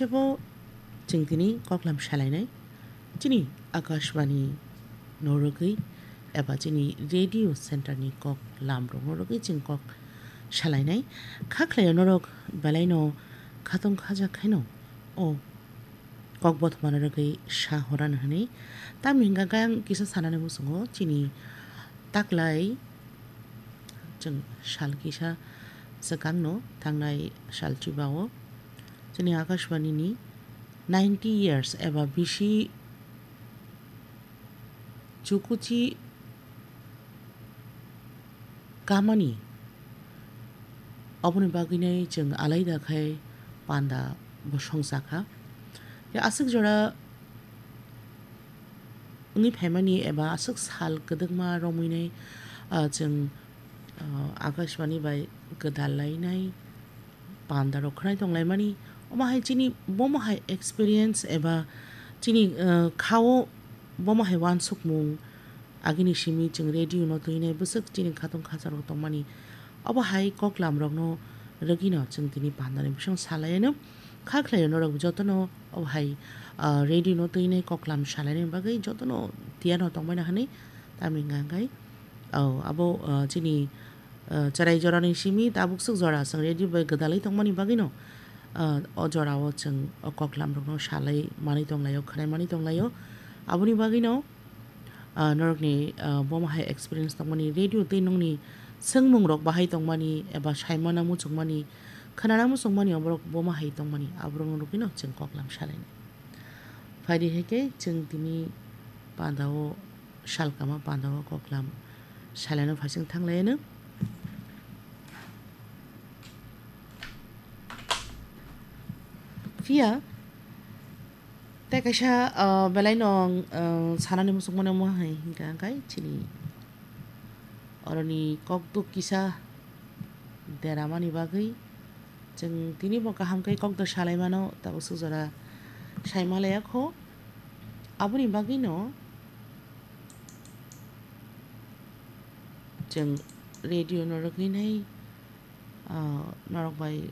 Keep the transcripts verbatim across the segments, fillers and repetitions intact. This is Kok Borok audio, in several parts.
Bo chwng tini koklam salainai, chini Akashbani no rwgwi eba chini radio center ni koklam rok no rwgwi chwng kok salainai. Kha khlai norok belai no khatong khajak khaino o kok bothoma no rwgwi sa horan hwnwi. Tamni hwnkha khe ang kisa sanani muchungo chini taklai chwng sal kisa swkang no thangnai sal chuba o chini Akashbani ni ninety years eba bisi chukuchi kamani, oboni bagwinai chwng alaida khai panda bo songcha kha. Ya aswk jora wngwi phaimani eba aswk sal kwdwkma romwinai, ah, chwng, ah, Akashbani bai gwdal lainai panda rok khwnai tong laimani. Omo hai chini bomo hai experience eba chini, ah, khao bomo hai uansukmung agini simi chwng radio no twinai bwswk chini khatong khajak rok tongmani. Obo hai koklam rok no rwgwi no chwng tini panda ni bising salai no kha khlai norok joto no obo hai, ah, radio no twinai koklam salai ni bagwi joto no tiyar no tongmani hwnwi tamni hwnkha khe, oh, abo, ah, chini, ah, chwrai jora ni simi tabuk swk jora chwng radio bai gwdalwi tongmani bagwi no, ah, o jora o chwng o koklam rok no salai manwi tong lai o, khwnai manwi tong lai o. Aboni bagwi no, ah, norok ni, ah, bomo hai experience tongmani radio tei nokni swngmung rok bahai tongmani eba saimana muchungmani, khwnana muchungmani oborok bomo hai tongmani aborok no rwgwi no chwng koklam salai ni. Phaidi hai khe chwng tini panda o salkama panda o koklam salaino phaising thang lai no. Phiya tei kaisa, ah, belai no, ah, sanani muchungmano omo hai hwnkha khe chini oroni kokduk kisa deramani bagwi chwng tini bo kaham khe kokduk salaimano tabuk swk jora saima laiya kho. Aboni bagwi no chwng radio no rwgwi nai, ah, norok bai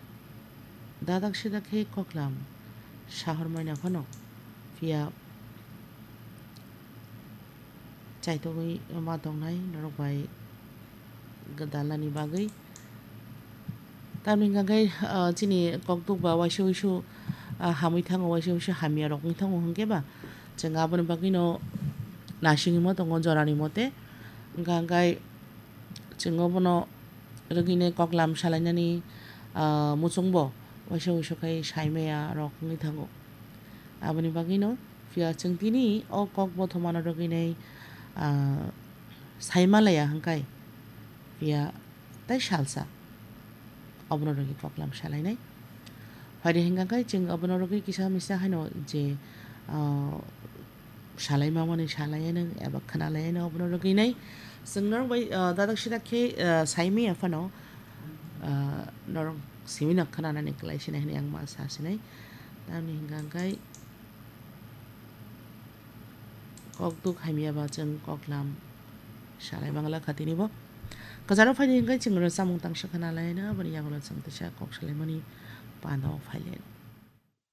dadak sidak khe koklam sahor maina phano, phiya chaitogwi ma tongnai norok bai gwdalani bagwi. Tamni hwnkha khe, ah, chini kokduk ba waisa waisa, ah, hamwi thango, waisa waisa hamya rok wng thango hwnkhe ba chwng aboni bagwi no nasingwi ma tongo jorani mote. Hwnkha khe chwng obono rwgwinai koklam salainani, ah, muchungbo waisa waisa khai saimaya rok wngwi thango. Aboni bagwino phiya chwng tini o kok bothomano rwgwinai, ah, saimalaya hwnkhe phiya tei salsa obono rwgwi koklam salainai. Phaidi hwnkha khe chwng obono rwgwi kisa misa haino je, ah, salai mamani salaiyanw eba khwnalaiyanw obono rwgwinai. Chwng norok bai, ah, dadak sidak khe, ah, saimaya phano, ah, norok simi no khwnanani kwlai sinai hwnwi ang ma sa sinai. Tamni hwnkha khe kokduk hamya ba chwng koklam salai mangla kha tini bo. Kwcharo phaidi hwnkhe chwng rwchapmung tangsa khwnalaino aboni yagulo chwng teisa kok salaimani panda o phailaino.